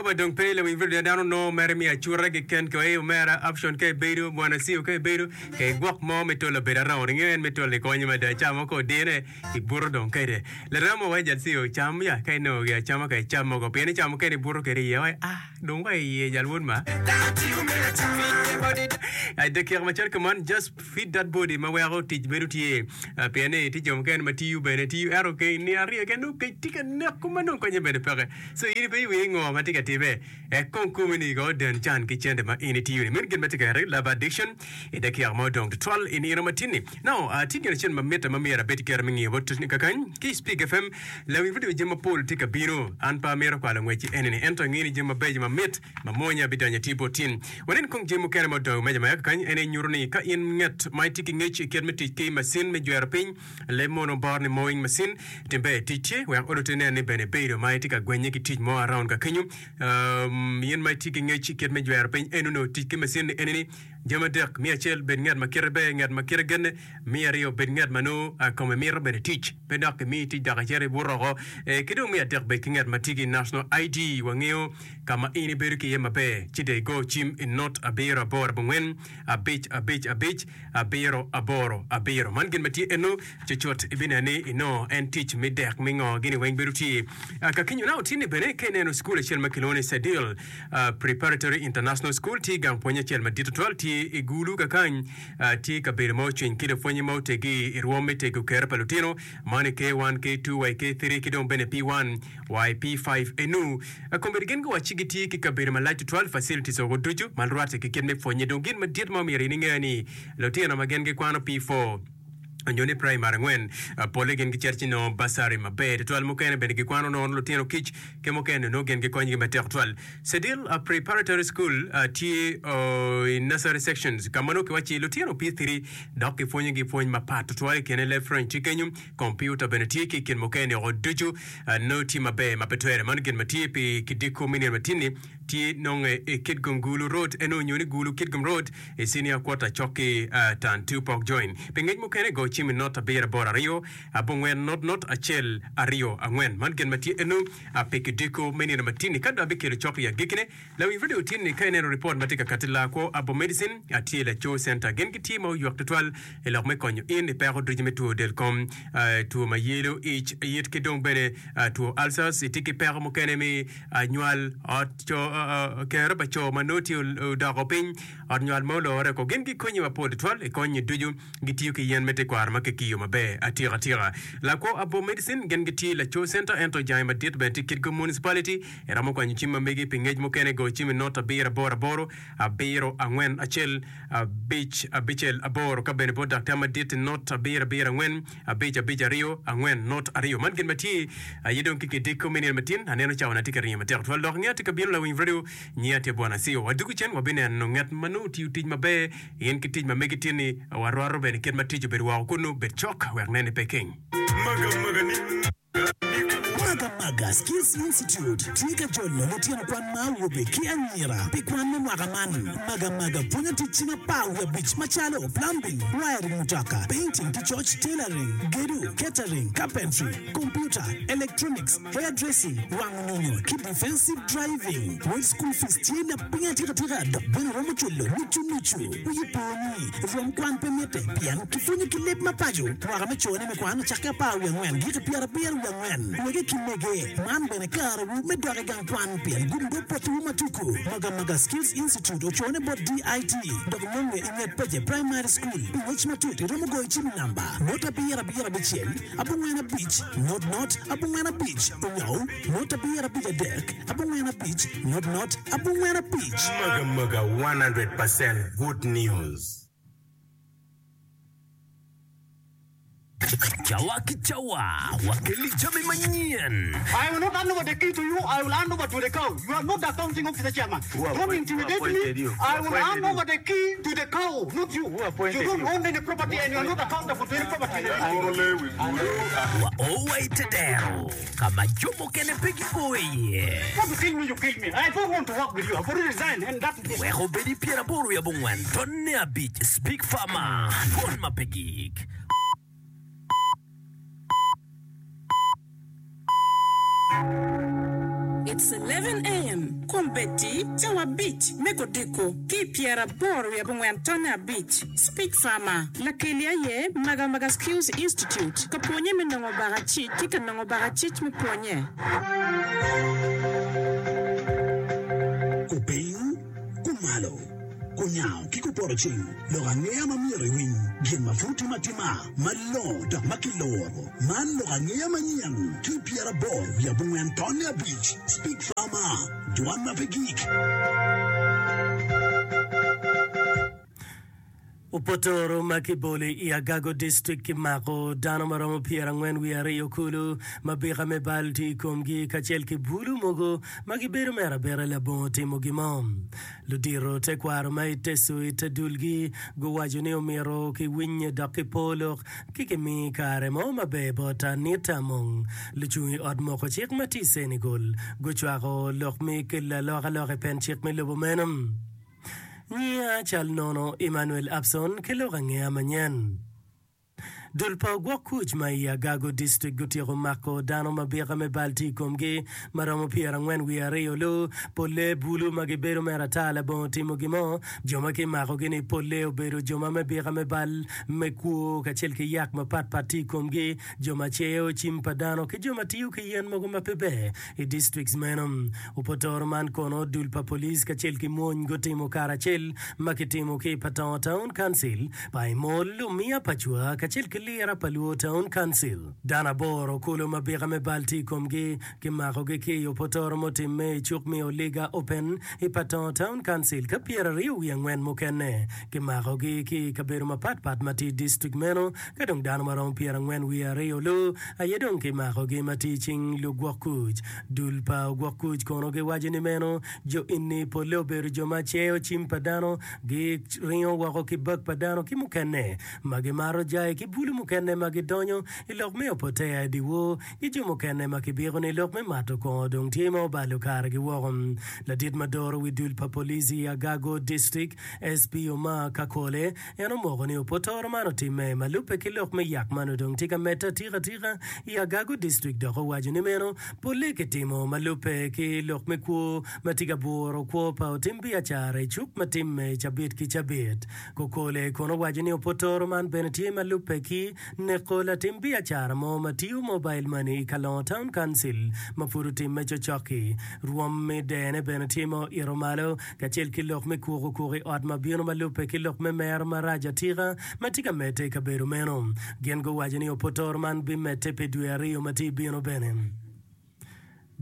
Ba dong pe lawiny video dano nongo mere mi acuta keken ke omera option ka ibedo bwana siu ka ibedo ke igwok mo me tolo bedo around ingeyo en me tolo ikonyo mada ca mo ka odine ibuto dong kede larema wa jal siu cam ya ka inongo gi acama ka icam mogo pien icamo kene ibuto kede iye wai ah dong wa iye jal wod ma I dakika macalo kuman just feed that body ma weko tic bedo tye pien ni tye jo mukene ma tiyo bene tiyo ento ke nino aryo keken nongo kec tye ka neko ma nongo konye bene peke. So in ipenyo wiyi ngo ma tye ka timme? Ek kong komi ni go den can ki cente ma in itiyo ni. Meno gin ma tye ka ere love addiction i dakika ma odong tutwal i nino ma tin ni. Now, uh, tye gin acel ma mitte ma myero abed kera me ngiyo bot kakany ki i Speak FM. Lawiny radio jami mapol tye ka bino. An pe amito kwalo ngwec i eni ni ento angeyo ni jami mabeco mamit mamwonya bidonyo atir bot tin. Wanen kong jami mukene ma odong i meja ma ya kakany. En aye nyuto ni ka in nget ma itye ki ngec i kit me tic ki macin me jwero piny, Leb mono bor ni mowing machine tim ber tic tye wek oluti nen ni bene ibedo ma itye ka gwenye ki tic mo around ka kenyo. Um, in ma itye ki ngec i kit me jwero piny eno nongo tic ki machine ni eni ni jami adek, me acel bed ngat ma kite ber, ngat ma kite genne, me aryo bed ngat ma nongo uh, kome mito bene tic, pe dok kimi tic dok icito ibuto oko, eh, ki dong me adek bed ki ngat ma tye ki national ID wangeyo ka ma in ibedo ki iye maber ci dong igo cim i not abiro aboro abongwen abic abic abic abiro aboro abiro. Man gin ma tye eno, cucut ibineno ni inongo en tic me dek me ngo gini weng bedo tye. Ka kinyo nao tye ni bene ka ineno cukul acel ma kilwongo ni Sedil Preparatory International School tye gang pwony acel madit tutwal tye i Gulu kakany tye kabedo ma ocwiny ki lupwonye ma otegi i rwom me tego kero pa lutino man i K1, K2 wa i K3 ki dong bene P1 wa i P5 enu. Kombeddi gin guwacci gitye ki kabedo malac tutwal, facilities, woko ducu ma rwatte ki kit me pwonye. Dong gin madit ma omyero in inge ni lutino ma gin gikwano P4 nyo ni primary angwen polle gin gicito ci nongo bursary maber tutwal. Mukene bene gikwano nono lutino kic ki mukene nongo gin gikonyogi matek tutwal. Sedil Preparatory School tye i nursery sections ka ma nongo kiwacci lutino P3 dok kipwonyogi pwony mapat tutwal i kine leb French tye kenyo, kompiuta bene tye ki i kin mukene woko ducu. Nongo tye maber ma pe twere. Mano gin ma tye pi kidiko me nino matin-ni tye nonge i Kitgum Gulu Road eno nyo ni Gulu Kitgum Road i Senior Quarter cok ki Tan Two Pok Join. Pi ngec mukene go cim i not abiro aboro aryo abongwen not not acel aryo angwen. Man gin ma tye eno pi kidiko me nino matin-ni. Ka dong abikelo cok i agikkine, Lawiny radio tye ni ka ineno ripot ma tye ka kati lakwo Abo Medicine tye laco center gin gitye ma oywek tutwal i lok me konyo in i peko ducu me two del kom, two ma yelo ic, yit ki dong bene two ulcers. Itye ki peko mukene me nywal ot co kero pa co ma nongo tye odoko piny ot nywal ma olore oko. Gin gikonyi mapol tutwal i konyi ducu. Gitiyo ki yen me tekwaro ma kikiyo maber atika tika. Lakwo Abo Medicine gin gitye laco center ento jange madit bene tye Kitgum Municipality. Iromo kwanyo cim ma megi pi ngec mukene, go cim i not abiro aboro aboro, abiro angwen acel, abic abicel aboro ka bene bot daktar madit i not abiro abiro angwen, abic abic aryo, angwen not aryo. Man gin ma tye aye dong ki kidiko me nino matin. Aneno cawa na tye ka ringo matek tutwal dok ngeya tye ka bino lawiny radio nyiya tye Bwana Acio. Wadwogo cen wabineno nget ma nongo otiyo tic maber in ki tic ma megi tin-ni. Warwato bene kit ma tic obedo woko kunnu. Bed cok wek neni pe keng. Magamaga Skills Institute tye ka jolo lutino kwan ma awobe ki anyira pi kwan me mwaka man. Magamaga pwonyo tic cing apar wiye abic macalo, plumbing, wiring mutoka, painting ki coc, tailoring, gedo, catering, carpentry, computer, electronics, hair dressing, wango nyonyo ki defensive driving. Wel school fees tye lapiny atika tika dok bene romo culo nucu nucu. Wiyi po ni, rwom kwan pe mitte pien kipwonyo ki leb ma paco. Mwaka me cone me kwan ocakke apar wiye angwen giki pyerabiro wiye angwen. Wege ki mege, man bene karewu me dok i gang kwan pien gum dog potowu ma tuku. Magamaga Skills Institute ocone bot DIT dok nonge i nget Pece Primary School. Pi ngec matut iromo goyo cim i namba not abiro abiro abicel abongwen abic not not abongwen abic onyo not abiro abic adek abongwen abic not not abongwen abic. Magamaga 100% good news. Cawa ki cawa, wakeli jami manyen. I will not hand over the key to you, I will hand over to the cow. You are not the accounting officer chairman. Don't intimidate me. I will hand over the key to the cow, not you. You don't own any property and you are not accountable to any property in the district. Wa o wa i te dero ka ma jo mukene pe gio iye. Want to kill me, you kill me. I don't want to work with you. I've already resigned and that is it. Wek obed i pyeraboro wiye abongwen tonne abic Speak Farmer, Dwon ma pe gik. It's 11 AM, Kombeddi, cawa abic me kodiko ki i pyeraboro wiye abongwen tonne abic, Speak Farmer. Lakeli aye Maga Maga Skills Institute ka pwonye me nongo bakacic ki ka nongo bakacic me pwonye. Kupiny, kumalo, kunyango ki kupoto ceng, lok angeya ma myero iwiny, gin ma pud timo atima, malongo dok ma kiloro. Man lok angeya manyen ki 84 tonne abic, Speak Farmer, dwan ma pe gik. Opotoro ma kibolo i Agago District kimako dano ma romo 42 kulu ma bika me bal tye i komgi kacel ki bulu mogo ma gibedo mere abera labongo timo gin mo. Ludito tekwaro ma i Teso i te dulgi guwaco ni omyero kiwinye dok kipo lok ki kimi kare mo maber bot Anita Among. Lucung i ot moko cik ma tye i Senegal gucwako lok me kelo alokaloka i pen cik me lobo meno. Nyiya cal nono Emmanuel Abson ki lok angeya manyen. Dul pa ogwok kuc ma i Agago District gutyeko mako dano ma byeka me bal tye i komgi ma romo 42 lu, polle bulu ma gibedo mere ata labongo timo gin mo. Jo ma kimakogi-ni polle obedo jo ma me byeka me bal me kwo kacel ki yak mapat pat tye i komgi, jo ma ceyo cim pa dano ki jo ma tiyo ki yen mogo ma pe ber i districts meno. Opotoro man kono dul pa police kacel ki mony gutimo karacel ma kitimo ki i Patongo Town Council, Paimol, Lumiya Pacwa kacel ki Lira pa Luo Town Council. Dano aboro kulu ma bika me bal tye i komgi kimakogi ki i opotoro mutimme i cuk me Oliga Open i Patongo Town Council ka 24 mukene kimakogi ki i kabedo mapat pat ma tye i district meno ka dong dano maromo 42 lu aye dong kimakogi ma tye i cing lugwok kuc. Dul pa ogwok kuc kono giwaco ni meno jo eni polle obedo jo ma ceyo cim pa dano, giringo woko ki bag pa dano ki mukene ma gimato jai ki bulu mukene ma gidonyo i lok me opotea i dyewor ki jo mukene ma kibiko ni lok me mato kongo dong tye ma obalo karegi woko. Ladit ma doro wi dul pa police i Agago District, SP Omar Kakole, En omoko ni opotoro man otimme ma lubbe ki lok me yak man odong tye ka medde atika atika i Agago District dok owaco ni meno polle kitimo ma lubbe ki lok me kwo ma tye ka buro kwo pa otim biacara i cuk ma timme cabit ki cabit. Kokole kono owaco ni opotoro man bene tye ma lubbe ki neko latim biacara mo ma tiyo mobile money i Kalongo Town Council ma pud otimme cocok-ki. Rwom me dene bene tye ma oito malo kacel ki lok me kuko kuko i ot ma bino ma lubbe ki lok me mero marac atika ma tye ka medde i kabedo meno. Gin guwaco ni opotoro man bimedde pi dwe aryo ma tye bino bene.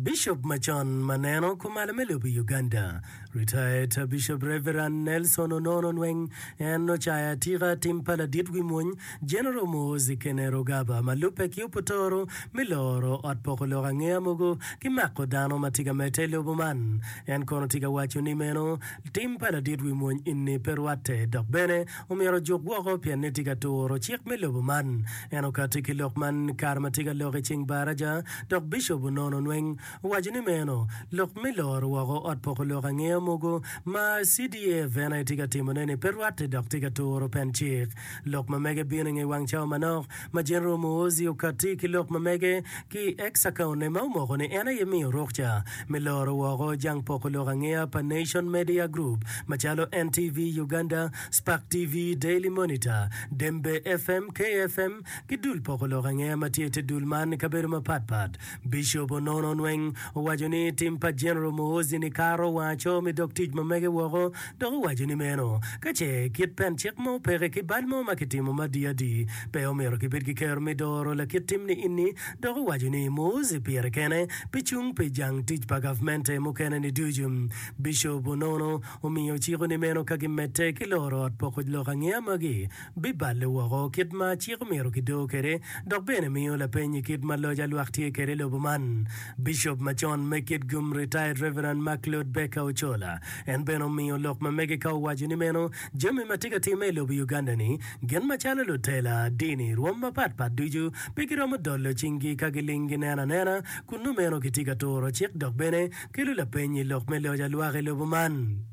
Bishop macon ma neno kumalo me lobo Uganda, Retired Bishop Reverend Nelson Onono Nweng en ocayo atika tim pa ladit wi mwony General Muhoozi Kainerugaba ma lubbe ki opotoro me loro ot poko lok angeya mogo ki mako dano ma tye ka medde i lobo man. En kono tye ka waco ni meno tim pa ladit wi mwony enni pe rwatte dok bene omyero ojuk woko pien ni tye ka turo cik me lobo man. En okatti ki lok man kare ma tye ka lok i ceng baraja dok Bishop Onono Nweng owaco ni meno lok me loro woko ot poko lok angeya mogo ma CDF en aye tye ka timone ni pe rwatte dok tye ka turo pen cik. Lok ma mege bino i nge wang cawa manok ma General Muhoozi okatti ki lok ma mege ki i X account-ne ma omoko ni en aye miyo rukca me loro woko jang poko lok angeya pa Nation Media Group macalo NTV Uganda, Spark TV, Daily Monitor, Dembe FM, KFM ki dul poko lok angeya ma tye i te dul man i kabedo mapat pat. Bishop Onono Nweng owaco ni tim pa General Muhoozi ni kato wang aco me dog tic ma mege woko dok owaco ni meno ka ce kit pen cik mo peke ki bal mo ma kitimo ma adi adi pe omyero kibed ki kero me doro lakit tim ni inni dok owaco ni Muhoozi pire kene pe cung pi jang tic pa gavmente mukene ni ducu. Bishop Onono omiyo ciko ni meno ka gimedde ki loro ot poko lok angeya magi biballe woko kit ma cik omyero kidor kwede dok bene miyo lapeny i kit ma loc alwak tye kwede i lobo man. Bishop macon me Kitgum Retired Reverend Macleod Baker Ochola en bene omiyo lok ma mege ka owaco ni meno jami ma tye ka timme i lobo Uganda ni gin macalo lutela dini rwom mapat pat ducu pe giromo dolo cinggi ka giling gineno anena kun nongo meno kitye ka turo cik dok bene kelo lapeny i lok me loc alwak i lobo man.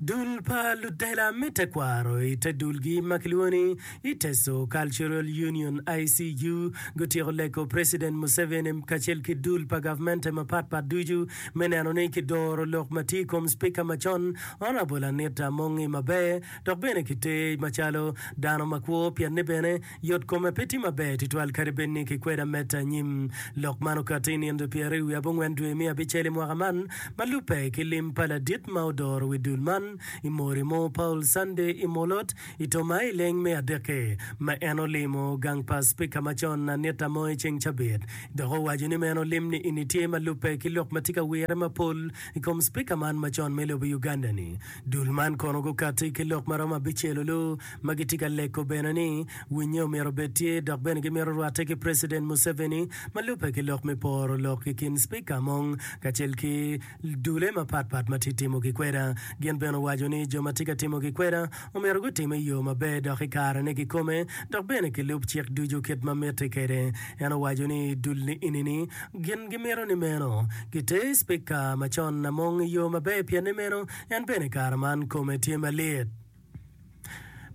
Dul pa lutela me tekwaro i te dulgi ma kilwongo ni Iteso Cultural Union, ICU, gutyeko leko President Museveni kacel ki dul pa gavmente mapat pat ducu me neno ni kidoro lok ma tye i kom Spika macon Honourable Anita Amongi maber dok bene kiter macalo dano makwo pienni bene Yot kome pe tye maber tutwal kadi bed ni kikweda medde anyim. Lok man okatti i nino pyeraryo wiye abongwen dwe me abicel i mwaka man ma lubbe ki lim pa ladit ma odoro wi dul man i Morimo Paul Sunday Imolot i Tomai i leng me adekke ma en olimo gang pa Spika macon Anita Moi ceng cabit dok owaco ni meno lim ni eni tye ma lubbe ki lok ma tye ka wire mapol i kom Spika man macon me lobo Uganda ni. Dul man kono gukatti ki lok maromo abicel olu ma gitye ka leko bene ni winye omyero obed tye dok bene gimito rwatte ki President Museveni ma lubbe ki lok me poro lok i kin Speaker Among kacel ki dule mapat pat ma tye timo gikweda. Gin bene owaco ni jo ma tye ka timo gikweda omyero gutim i yo maber dok i karene kikome dok bene kilub cik ducu kit ma mitte kwede. En owaco ni dul ni enini gin gimito ni meno giter Speaker macon Among i yo maber pien ni meno en bene kare man kome tye malit.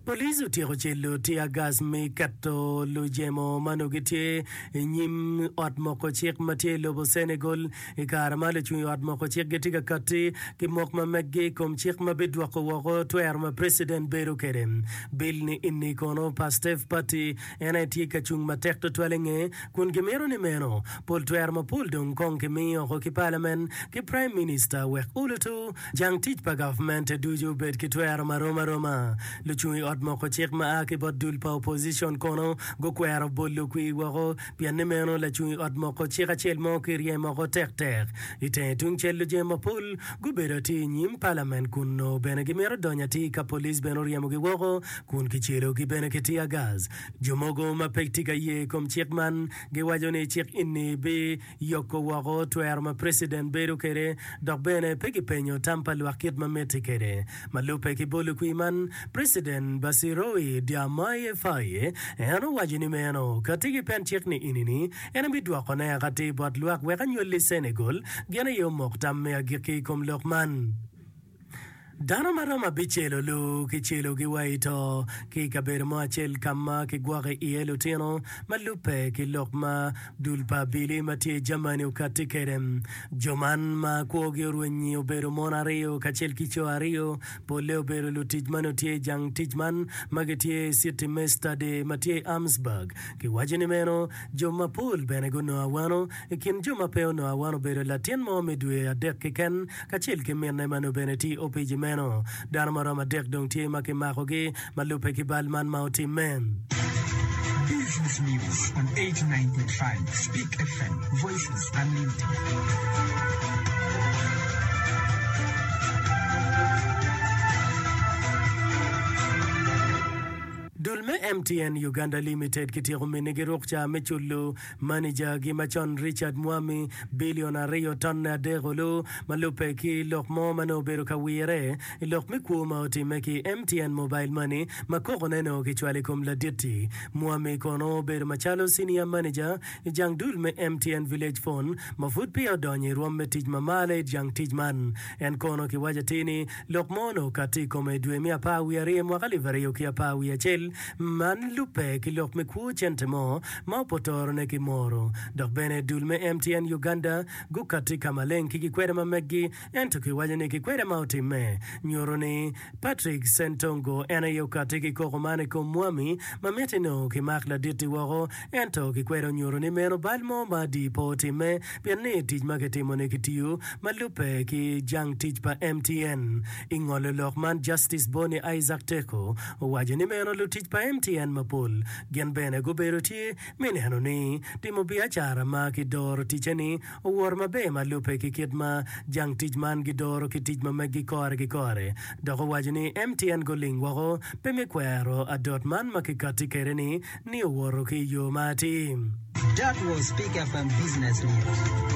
Police otyeko celo tear gas me keto lujemo ma nongo gitye i nyim ot moko cik ma tye i lobo Senegal i kare ma lucung i ot moko cik gitye ka katti ki mok ma meggi i kom cik ma bidwoko woko twero ma preciden bedo kwede. Bill ni eni kono Pastef Party en aye tye ka cung matek tutwal i nge kun gimito ni meno pol twero mapol dong kong kimiyo oko ki palamen ki Prime Minister wek olutu Jang tic pa gavmente ducu obed ki twero ma rom aroma. Lucung i ot moko cik ma a ki bot dul pa opozicon kono gukwero bolo kwir woko pien ni meno lacung i ot moko cik acel mo kiryem oko tektek. I tenge tungcel lujem mapol gubedo atir i nyim palamen kun nongo bene gimito donyo atir ka police bene oryemogi woko kun kicelogi bene ki tear gas. Jo mogo ma pe tye ka ye i kom cik man giwaco ni cik eni bi yoko woko twero ma preciden bedo kwede dok bene pe kipenyo tam pa lwak kit ma mitte kwede. Ma lubbe ki bolo kwir man, Preciden Bassirou Diomaye Faye en owaco ni meno kati ki pen cik ni ini-ni en ebidwokone akatir bot lwak wek anywalli Senegal gin aye omok tam me agikki i kom lok man. Dano ma romo abicel olu kicelogi wa i to ki i kabedo mo acel ka ma kigwoko iye lutino ma lubbe ki lok ma dul pa abili ma tye i Germany okatti kwede. Jo man ma kwogi orwenyi obedo mon aryo kacel ki co aryo, polle obedo lutic ma nongo tye i jang tic man ma gitye i citi me Stade ma tye i Armsburg. Kiwaco ni meno jo mapol bene gunongo awano. I kin jo ma pe onongo awano obedo latin mo me dwe adek keken kacel ki minne ma nongo bene tye i opici meno. Dano ma romo adek dong tye ma kimakogi ma lubbe ki bal man ma otimme. Business News on 89.5 Speak FM, Voices Unlimited. Dul me MTN Uganda Limited kityeko minigi rukca me culo Manijagi macon Richard Mwami bilion ariyo tonne adek olu ma lubbe ki lok mo ma nongo obedo ka wire i lok me kwo ma otimme ki MTN Mobile Money ma kokone nongo kicwalo i kom ladit-ti. Mwami kono obedo macalo Senior Manager i jang dul me MTN Village Phone ma pud peya odonyo i rwom me tic ma malo i jang tic man. En kono kiwaco atir ni Lok mo onongo okatti i kome i dwe me apar wiye aryo i mwaka alip aryo ki apar wiye acel man lubbe ki lok me kwo cente mo ma opotorone ki moro. Dok bene dul me MTN Uganda gukatti ka maleng ki gikweda ma meggi ento kiwaco ni gikweda ma otimme nyuto ni Patrick Ssentongo en aye okatti ki koko man i kom Mwami ma miti nongo kimak ladit-ti woko ento gikweda onyuto ni meno bal mo ma adi pe otimme Pien ni tic ma kitimo-ni kitiyo ma lubbe ki jang tic pa MTN. I ngolo lok man, Justice Bonny Isaac Teko owaco ni meno lutic pa MTN mapol gin bene gubedo tye me neno ni timo biacara ma kidoro ticce-ni owoto maber ma lubbe ki kit ma jang tic man gidoro ki tic ma meggi kore ki kore. Dok owaco ni MTN guling woko pe me kwero adot man ma kikatti kwede-ni ni owoto ki i yo ma atir. That was Speak FM Business News.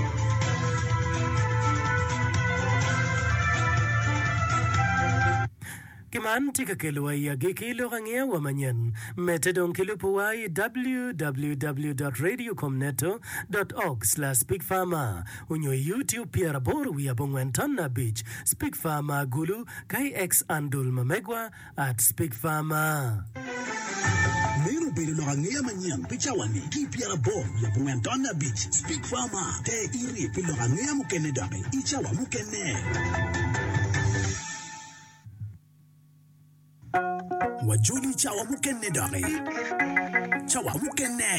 Ki man tye ka kelowa i agikki lok angeya wa manyen. Medde dong ki lubowa i www dot radiocomneto dot org slash speakfarmer onyo i YouTube pyeraboro wiye abongwen tonna abic speakfarmer Gulu ka i X-andle ma megwa at speakfarmer. Meno obedo lok angeya manyen pi cawa-ni ki i pyeraboro wiye abongwen tonna abic Speak Farmer Ter iri pi lok angeya mukene doki i cawa mukene. Wajoli cawa mukene doki. Cawa mukene.